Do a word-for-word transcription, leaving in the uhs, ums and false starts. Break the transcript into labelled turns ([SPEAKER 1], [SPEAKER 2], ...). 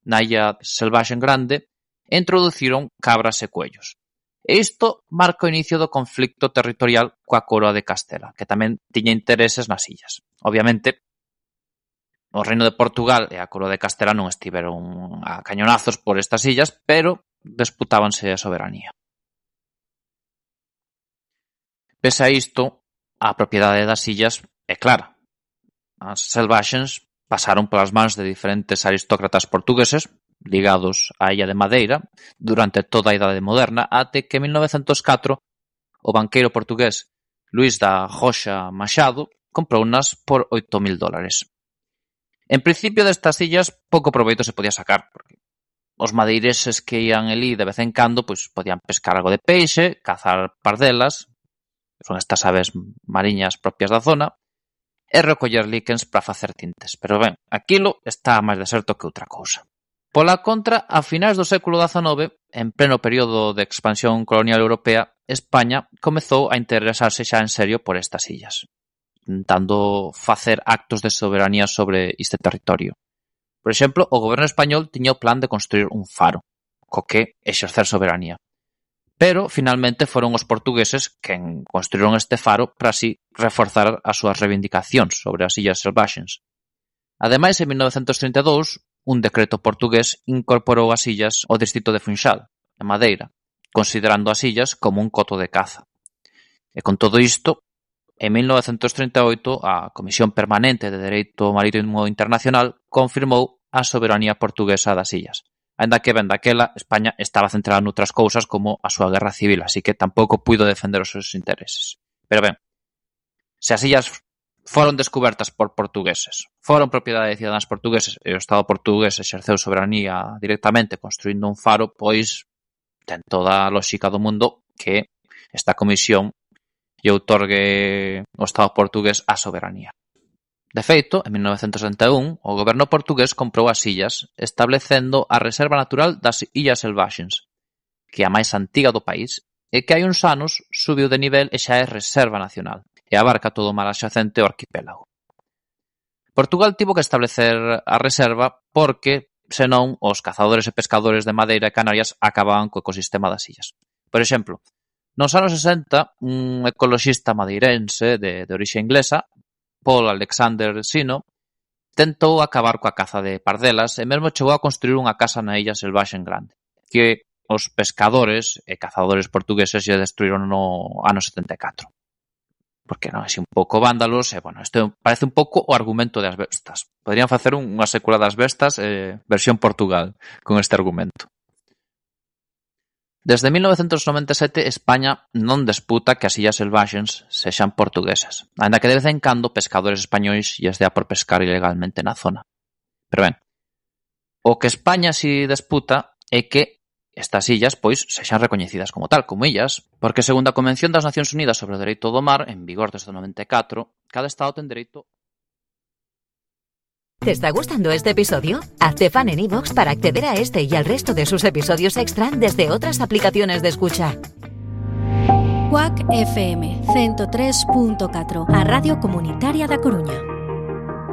[SPEAKER 1] na illa Selvaxe en Grande, e introduciron cabras e coellos. E isto marca o inicio do conflicto territorial coa Coroa de Castela, que tamén tiña intereses nas illas. Obviamente, o Reino de Portugal e a Coroa de Castela non estiveron a cañonazos por estas illas, pero disputábanse a soberanía. Pese a isto, a propiedade das illas é clara. As Selvaxes pasaron polas mans de diferentes aristócratas portugueses ligados á illa de Madeira durante toda a Idade Moderna, até que en mil novecentos catro o banqueiro portugués Luís da Roxa Machado comprounas por oito mil dólares. En principio destas illas pouco proveito se podía sacar, porque os madeireses que ían elí de vez en cando pois podían pescar algo de peixe, cazar pardelas, que son estas aves mariñas propias da zona, e recoller líquens para facer tintes. Pero ben, aquilo está máis deserto que outra cousa. Pola contra, a finais do século dezanove, en pleno período de expansión colonial europea, España comezou a interesarse xa en serio por estas illas, intentando facer actos de soberanía sobre este territorio. Por exemplo, o goberno español tiña o plan de construir un faro, co que exercer soberanía. Pero, finalmente, foron os portugueses quen construíron este faro para así reforzar as súas reivindicacións sobre as illas Selvaxes. Ademais, en mil novecentos trinta e dous, un decreto portugués incorporou as illas ao distrito de Funchal, en Madeira, considerando as illas como un coto de caza. E con todo isto, en mil novecentos trinta e oito, a Comisión Permanente de Dereito Marítimo Internacional confirmou a soberanía portuguesa das illas. Ainda que ben daquela, España estaba centrada noutras cousas como a súa guerra civil, así que tampouco puido defender os seus intereses. Pero ben, se as illas foron descubertas por portugueses, foron propiedade de cidadáns portugueses e o Estado portugués exerceu soberanía directamente construindo un faro, pois ten toda a lógica do mundo que esta comisión lle outorgue ao Estado portugués a soberanía. De feito, en mil novecentos setenta e un, o goberno portugués comprou as illas, establecendo a Reserva Natural das Illas Selvaxes, que é a máis antiga do país, e que hai uns anos subiu de nivel e xa é Reserva Nacional, e abarca todo o mar adxacente ao arquipélago. Portugal tivo que establecer a reserva porque, senón, os cazadores e pescadores de Madeira e Canarias acababan co ecosistema das illas. Por exemplo, nos anos sesenta, un ecoloxista madeirense de, de orixe inglesa, Paul Alexander Sino, tentou acabar coa caza de pardelas e mesmo chegou a construir unha casa na illa Selvaxe en Grande, que os pescadores e cazadores portugueses lle destruíron no ano setenta e catro. Porque non, así un pouco vándalos, e, bueno, isto parece un pouco o argumento das bestas. Poderían facer unha sécula das bestas, eh, versión Portugal, con este argumento. Desde mil novecentos noventa e sete, España non disputa que as illas Selvaxes sexan portuguesas, ainda que de vez en cando pescadores españois lles dea por pescar ilegalmente na zona. Pero ben, o que España si disputa é que estas illas, pois, sexan recoñecidas como tal, como illas, porque segundo a Convención das Nacións Unidas sobre o Dereito do Mar, en vigor desde o noventa e catro, cada estado ten dereito.
[SPEAKER 2] ¿Te está gustando este episodio? Hazte fan en iVoox para acceder a este y al resto de sus episodios extra desde otras aplicaciones de escucha.
[SPEAKER 3] Quack F M ciento tres punto catro, a Radio Comunitaria da Coruña.